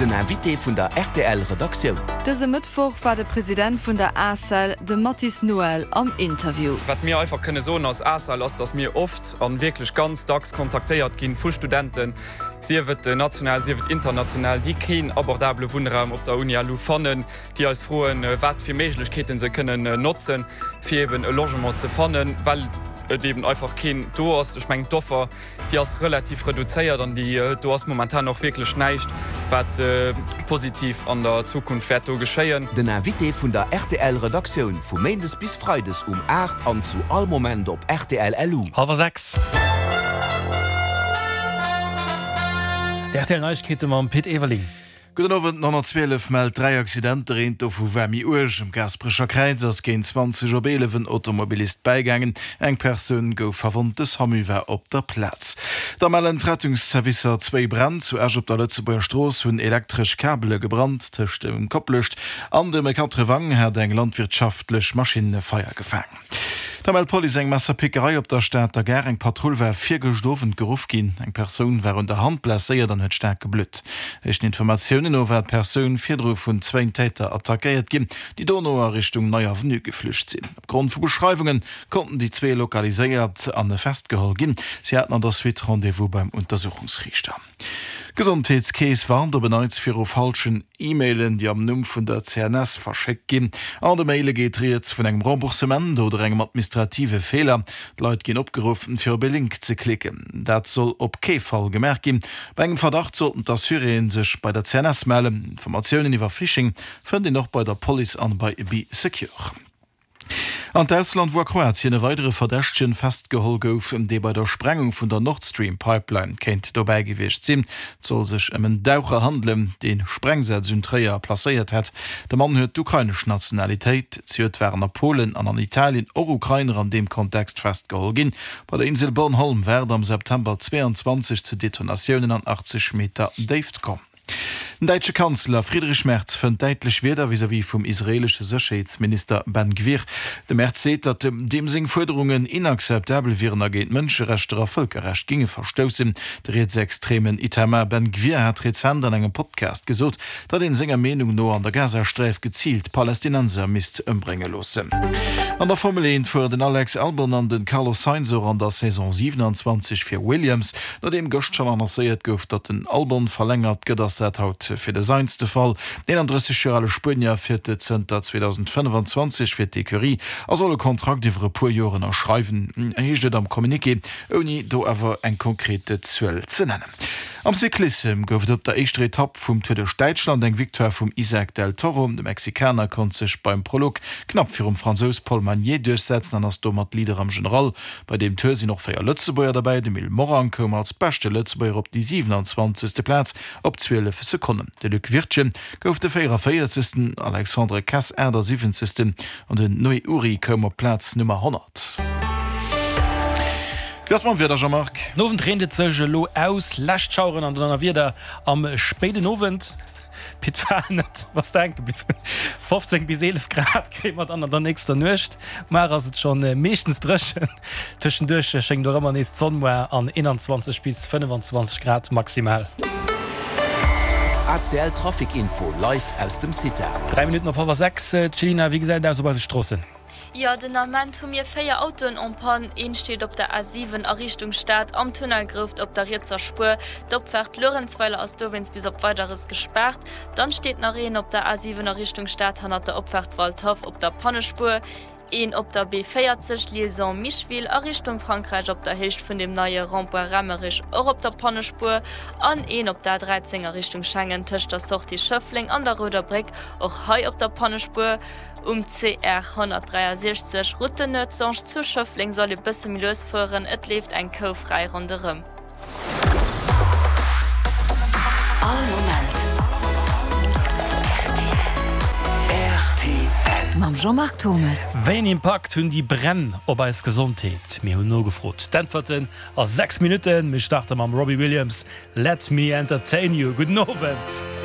Den Invité vun der rtl Redaktioun. Dëse Mëttwoch war de President vun der ACEL, de Mathis Noël, am Interview. Wat mir einfach kënne soen als ACEL ass, datt mir oft a wierklech ganz dacks kontaktéiert ginn vu Studenten, sief et national, sief et international, déi keen abordabele Wunnraum op der Uni LU fannen, déi eis froen, wat fir Méiglechkeete se kënnen notzen, fir eben e Logement ze fannen, well et eben einfach keen do ass. Ech mengen, d'Offer, déi ass relativ reduzéiert an déi do ass momentan och wierklech näischt, wat positiv an der Zukunft wäert do geschéien. Den Invité vun der rtl Redaktioun vu Méindes bis Freides um 8 an zu all Moment op rtl LU. Hallwer 6. D'RTL Neiegkeete mam Pit Everling. Gudden Owend, Den 112 mellt 3 Accidenter, eent dovu war méi uerg. Um Gaasperecher Kräiz ass géint 20 op 11 en Automobilist bäigaangen. Eng Persoun gouf verwonnt, de Samu war op der Plaz. Da mellen d'Rettungsservicer zwéi Bränn. Zu Esch op der Lëtzebuerger Strooss hunn elektresch Kabele gebrannt. Tëscht dem Koplescht an dem Quatrewang hat eng landwirtschaftlech Maschinn Feier gefaang. Da mellt d'Police eng Messerpickerei op der Stater Gare. Eng Patrull war virgëscht Owend geruff ginn. Eng Persoun war un der Hand blesséiert an huet staark geblutt. Éischten Informatiounen no war d'Persoun virdru vun zwéin Täter attackéiert ginn, déi dono a Richtung Nei Avenue geflücht sinn. Opgrond vu Beschreiwunge konnten déi zwee lokaliséiert an festgeholl ginn. Si haten an der Suite Rendez-vous beim Untersuchungsriichter. D'Gesondheetskeess warnt op en Neits viru falschen E-Mailen, déi am Numm vun der CNS verschéckt ginn. An de Maile geet rieds vun engem Remboursement oder engem administrative Feeler. D'Leit ginn opgeruff, fir op e Link ze klicken. Dat soll op kee Fall gemaach ginn. Bei engem Verdacht sollten d'Assuréeë sech bei der CNS mellen. Informatiounen iwwer Phishing fënnt een och bei der Police an bei Bee Secure. An d'Ausland, wou a Kroatien e weidere Verdächtegen festgeholl gouf, dee bei der Sprengung vun der Nord Stream Pipeline kéint dobäi gewiescht sinn. Et soll sech ëm en Daucher handelen, dee Sprengsätz un Tréier placéiert hätt. De Mann huet d'ukrainesch Nationalitéit. Zejoert waren a Polen an an Italien och Ukrainer an deem Kontext festgeholl ginn. Bei der Insel Bornholm war et am September 22 zu Detonatiounen an 80 Meter Déift komm. Den däitsche Kanzler Friedrich Merz fënnt däitlech Wierder vis-à-vis vum israeelesche Sécherheetsminister Ben Gvir. De Merz seet, datt deem seng Fuerderungen inakzeptabel wieren a géint Mënscherechter a Vëlkerrecht géinge verstoussen. De rietsextremen Itamar Ben Gvir hat rezent an engem Podcast gesot, datt een senger Meenung no an der Gazasträif geziilt Palästinenser misst ëmbrénge loossen. An der Formel 1 fueren den Alex Albon an den Carlos Sainz och an der Saison 27 fir Williams. Nodeem gëscht schonn annoncéiert gouf, datt den Albon verlängert gëtt, ass dat haut fir de Sainz de Fall. Den 31 Joer ale Spuenier fiert zënter 2025 fir d'Ecurie a soll e Kontrakt iwwer e puer Joer ënnerschreiwen, heescht et am Communiqué, ouni do awer eng konkret Zuel ze nennen. Am Cyclissem gouf et op der éischter Etapp vum Tour duerch Däitschland eng Victoire vum Isaac del Toro. De Mexikaner konnt sech beim Prolog knapp virum Fransous Paul Magnier duerchsetzen an ass domat Leader am General. Bei deem Tour sinn och 4 Lëtzebuerger derbäi. De Mil Morang koum als beschte Lëtzebuerger op déi 27. Plaz op 12 Sekonnen. De Luc Wirtgen gouf de 44. Alexandre Kess 78. An den Noé Ury koum op d'Plaz Nummer 100. Wéi ass mam Wieder, Jean-Marc? Den Owend reent et sech elo aus, lescht Schaueren an Donnerwieder am spéiden Owend. Pit war net bass de hänke bliwwen. 15 bis 11 Grad kréie mer dann an der nächster Nuecht. Muar ass et schonn meeschtens dréchen, tëschenduerch schéngt och ëmmer nees d'Sonn. Muar an 21 bis 25 Grad maximal. ACL Trafic Info live aus dem CITA. 3 Minutten op hallwer 6. Céline, wéi gesäit et aus op eise Stroossen? Jo, den Ament hu mir 4 Autoen en panne. Een steet op der A7 a Richtung Stad am Tunnel Grouft op der rietser Spuer. D'Opfaart Luerenzweiler ass dowéinst bis op Weideres gespaart. Dann steet nach een op der A7 a Richtung Stad hannert der Opfaart Waldhaff op der Pannespuer. Een op der B40 Liaison Micheville a Richtung Frankräich op der Héicht vun dem neie Rond-point Rammerich och op der Pannespuer. An een op der A13 a Richtung Schengen tëscht der Sortie Schëffleng an der Rouder Bréck och hei op der Pannespuer. Um CR 163, Route de Noertzange zu Schëffleng soll ee bësse méi lues fueren, et leeft eng Kou fräi ronderëm. All Moment rtl. Mam Jean-Marc Thommes. Wéi en Impakt hunn déi Bränn op eis Gesondheet? Mir hunn nogefrot. D'Äntwerten a 6 Minutten. Mir starte mam Robbie Williams, Let Me Entertain You. Gudden Owend.